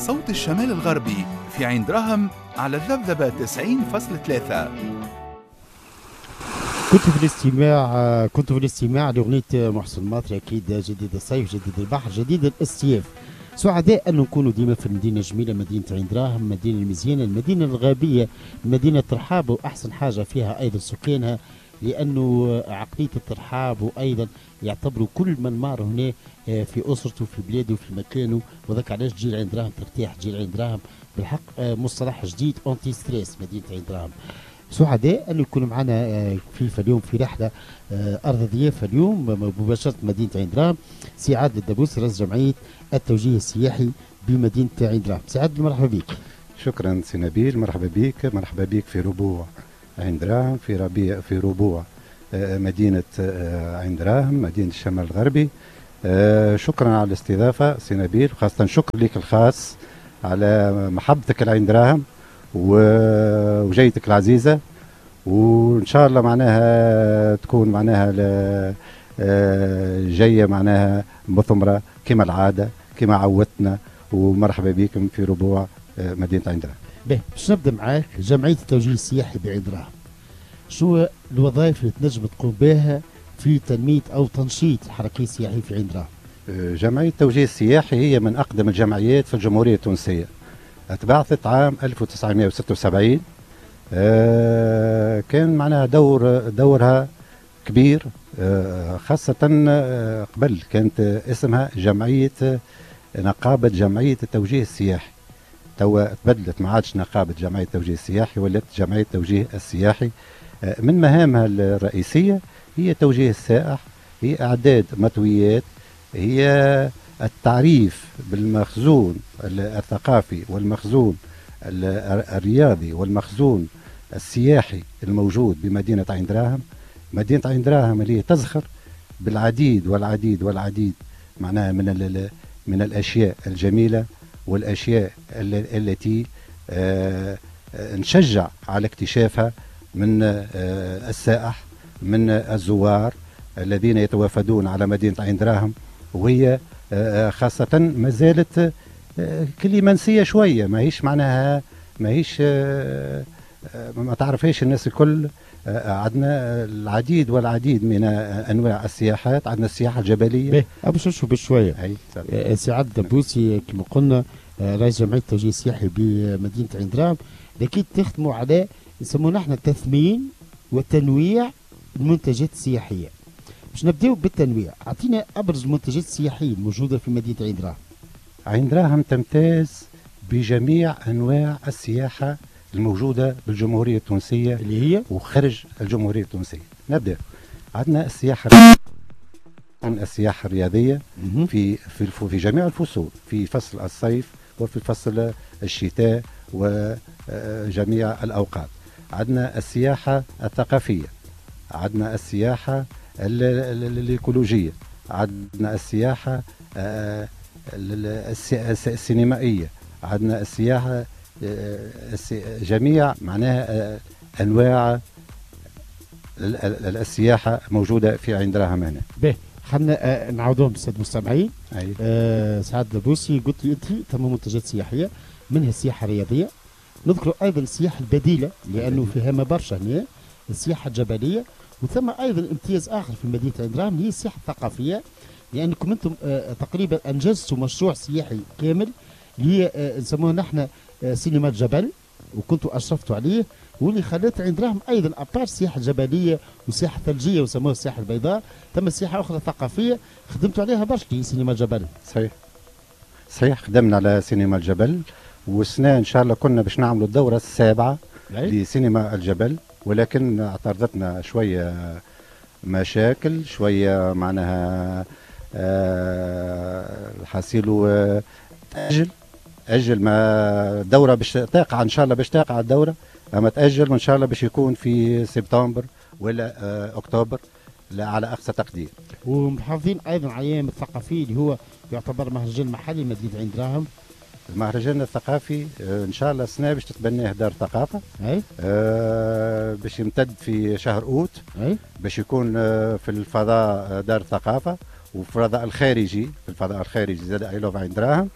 صوت الشمال الغربي في عين دراهم على الذبذبة 90.3. كنت في الاستماع لأغنية محسن الماطري، أكيد جديد الصيف، جديد البحر، جديد الاصطياف. سعداء أن نكونوا ديما في المدينة الجميلة، مدينة عين دراهم، المدينة المزيانة، المدينة الغابية، مدينة ترحاب، وأحسن حاجة فيها أيضا سكانها، لأنه عقلية الترحاب وأيضا يعتبروا كل من مار هنا في أسرته، في بلاده، في مكانه. وذاك علاش تجي لعين دراهم ترتاح، تجي لعين دراهم بالحق مصطلح جديد anti-stress مدينة عين دراهم. سعداء أن يكون معنا في اليوم في رحلة أرض ضيافة اليوم مباشرة مدينة عين دراهم سي عادل الدبوسي، رئيس جمعية التوجيه السياحي بمدينة عين دراهم. سي عادل، مرحبا بك. شكرا سي نبيل، مرحبا بك، مرحبا بك في ربوع عين دراهم، في ربيع، في ربوع مدينة عين دراهم، مدينة الشمال الغربي. شكرا على الاستضافة سي نبيل، خاصة شكر لك الخاص على محبتك لعين دراهم وجيتك العزيزة، وإن شاء الله معناها تكون معناها جاية معناها مثمرة كما العادة كما عودتنا، ومرحبا بكم في ربوع مدينة عين دراهم. باهي، باش نبدا معاك جمعية التوجيه السياحي بعين دراهم، شو الوظائف اللي تنجم تقوم بها في تنمية أو تنشيط الحركية السياحية في عين دراهم؟ جمعية التوجيه السياحي هي من أقدم الجمعيات في الجمهورية التونسية، تبعثت عام 1976. كان معناها دورها كبير، خاصة قبل كانت اسمها جمعية نقابة جمعية التوجيه السياحي. توا تبدلت، ما عادش نقابة جمعية التوجيه السياحي، ولات جمعية التوجيه السياحي. من مهامها الرئيسية هي توجيه السائح، هي إعداد مطويات، هي التعريف بالمخزون الثقافي والمخزون الرياضي والمخزون السياحي الموجود بمدينة عين دراهم. مدينة عين دراهم اللي تزخر بالعديد والعديد والعديد معناها من الأشياء الجميلة والأشياء التي نشجع على اكتشافها من السائح، من الزوار الذين يتوافدون على مدينة عين دراهم، وهي خاصة ما زالت كلي منسية شوية، ماهيش معناها ماهيش ما تعرفهاش الناس الكل. عندنا العديد والعديد من انواع السياحات، عندنا السياحة الجبليه. باش نشوف بشويه. سي عادل دبوسي، كما قلنا رئيس جمعية التوجيه السياحي بمدينة عين دراهم، اكيد تخدموا على نسموه نحن تثمين وتنويع المنتجات السياحيه. باش نبداو بالتنويع، اعطينا ابرز المنتجات السياحية الموجودة في مدينة عين دراهم. عين دراهم تمتاز بجميع انواع السياحة الموجودة بالجمهوريه التونسية اللي هي وخارج الجمهورية التونسيه. نبدا، عندنا السياحة الرياضية في جميع الفصول، في فصل الصيف وفي فصل الشتاء وجميع الاوقات. عندنا السياحة الثقافيه، عندنا السياحة الايكولوجيه، عندنا السياحة السينمائيه، عندنا السياحة جميع معناها انواع السياحة موجودة في عين دراهم هنا. باهي، خلينا نعاودوهم للسادة المستمعين. سي عادل دبوسي، قلت لي انت ثم منتجات سياحية منها السياحة الرياضيه، نذكر ايضا السياحة البديلة لانه فيها ما برشا هنا، السياحة الجبليه، وثم ايضا امتياز اخر في مدينة عين دراهم هي السياحة الثقافيه، لانكم انتم تقريبا انجزتوا مشروع سياحي كامل اللي هي نسموه نحن سينما الجبل، وكنتوا اشرفتوا عليه، واللي خلت عين دراهم ايضا à part السياحة الجبلية والسياحة الثلجيه وسموها السياحة البيضاء، ثم سياحة اخرى ثقافية خدمتوا عليها برشا، هي سينما الجبل. صحيح، خدمنا على سينما الجبل، والسنة ان شاء الله كنا باش نعملوا الدورة السابعة لسينما الجبل، ولكن اعترضتنا شوية مشاكل، شوية معناها الحاصيل تأجل، أجل ما الدورة باش تقع ان شاء الله، باش تقع الدورة اما تأجل، وان شاء الله باش يكون في سبتمبر ولا اكتوبر لا على اقصى تقدير. ومحافظين ايضا على الايام الثقافية اللي هو يعتبر مهرجان محلي مدينة عين دراهم. المهرجان الثقافي ان شاء الله السنة باش تتبناه دار الثقافه. باش يمتد في شهر اوت. باش يكون في الفضاء دار الثقافة وفي الفضاء الخارجي، في الفضاء الخارجي زاد I love عين دراهم.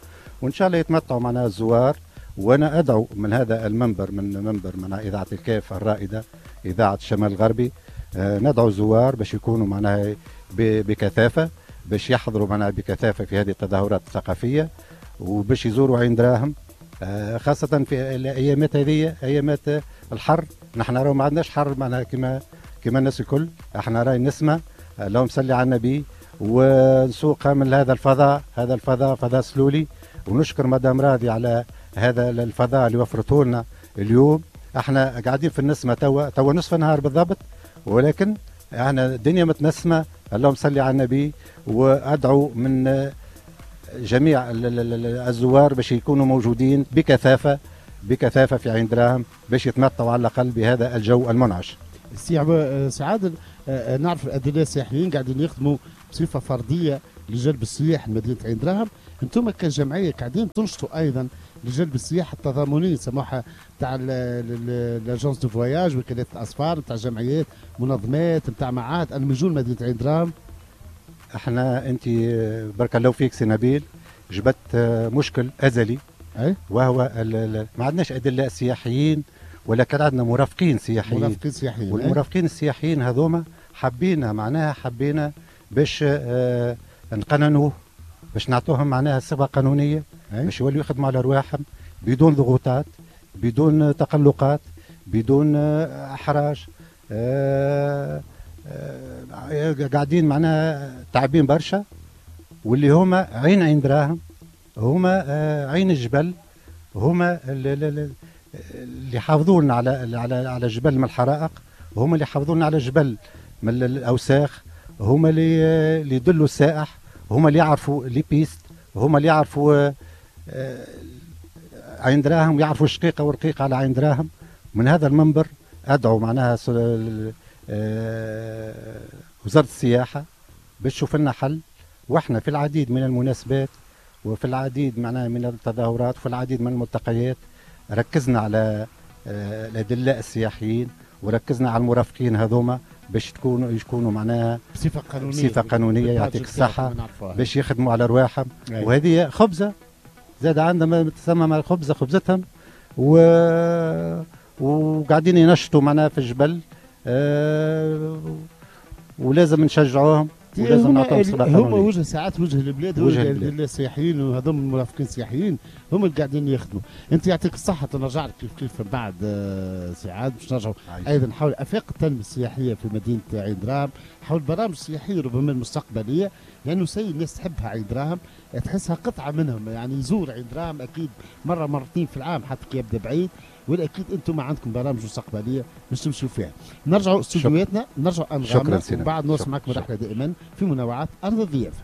وان شاء الله وان شاء الله يتمتعوا معنا الزوار. وانا ادعو من هذا المنبر، من منبر معناها اذاعة الكاف الرائدة، اذاعة الشمال الغربي، ندعو الزوار باش يكونوا معناها بكثافة، باش يحضروا معناها بكثافة في هذه التظاهرات الثقافية، وباش يزوروا عين دراهم، خاصة في الايامات هذه، ايامات الحر. نحن راهو ما عندناش حر معناها كما الناس الكل، احنا راهي نسمه، اللهم صل على النبي، ونسوقها من هذا الفضاء، هذا الفضاء فضاء سلولي. ونشكر مدام راضي على هذا الفضاء اللي وفرته لنا اليوم. احنا قاعدين في النسمه توا نصف النهار بالضبط، ولكن احنا الدنيا متنسمه، اللهم صل على النبي. وادعو من جميع الزوار باش يكونوا موجودين بكثافة بكثافة في عين دراهم، باش يتمتعوا على الاقل بهذا الجو المنعش. سي عادل، نعرف الادلاء السياحيين قاعدين يخدموا بصفة فردية لجلب السياح لمدينة عين دراهم، انتم كجمعية قاعدين تنشطوا ايضا لجلب السياحة التضامنيه يسموها تاع l'agence de voyage، وكالات الاسفار، نتاع جمعيات، منظمات، نتاع معاهد، انهم يجوا لمدينة عين دراهم. احنا انت بارك الله فيك سي نبيل، جبت مشكل ازلي، أي؟ وهو ما عندناش ادلاء سياحيين، ولكن عندنا مرافقين سياحيين. مرافقين سياحيين، والمرافقين السياحيين هذوما حبينا معناها حبينا باش نقننوه، باش نعطوهم معناها صفة قانونية، باش يوليو يخدموا على رواحهم بدون ضغوطات، بدون تقلقات، بدون احراج. قاعدين معناها تعبين برشا، واللي هما عين دراهم، هما عين الجبل، هما اللي حافظوا لنا على على على الجبل من الحرائق، هما اللي حافظوا لنا على الجبل من الاوساخ، هما اللي يدلوا السائح، هما اللي يعرفوا les pistes، هما اللي يعرفوا عين دراهم، يعرفوا الشقيقة والرقيقه على عين دراهم. من هذا المنبر ادعو معناها وزارة السياحة باش تشوف لنا حل. واحنا في العديد من المناسبات وفي العديد معناها من التظاهرات وفي العديد من الملتقيات ركزنا على الادلاء السياحيين، وركزنا على المرافقين هذوما باش يكونوا معناها بصفة قانونية، بصفة قانونية، يعطيك الصحة، باش يخدموا على رواحهم. وهذه خبزه زاد عندنا تسمى الخبزة خبزتهم، وقاعدين ينشطوا معناها في الجبل، ولازم نشجعوهم ولازم نعطوهم صفة قانونية. هما وجه ساعات وجه البلاد، وجه السياحيين، وهذوم المرافقين السياحيين هم اللي قاعدين يخدموا. انت يعطيك الصحة، نرجع لك كيف كيف بعد ساعات باش نرجعوا ايضا حول افاق التنمية السياحية في مدينة عين دراهم، حول البرامج السياحية ربما المستقبلية، لانه سي الناس تحبها عين دراهم، تحسها قطعه منهم، يعني يزور عين دراهم اكيد مرة مرتين في العام حتى كي يبدا بعيد، والاكيد انتم عندكم برامج مستقبلية باش تمشوا فيها. نرجعوا استوديوهاتنا، نرجعوا انغامنا، وبعد نوصل معكم رحله دائما في منوعات ارض الضيافة.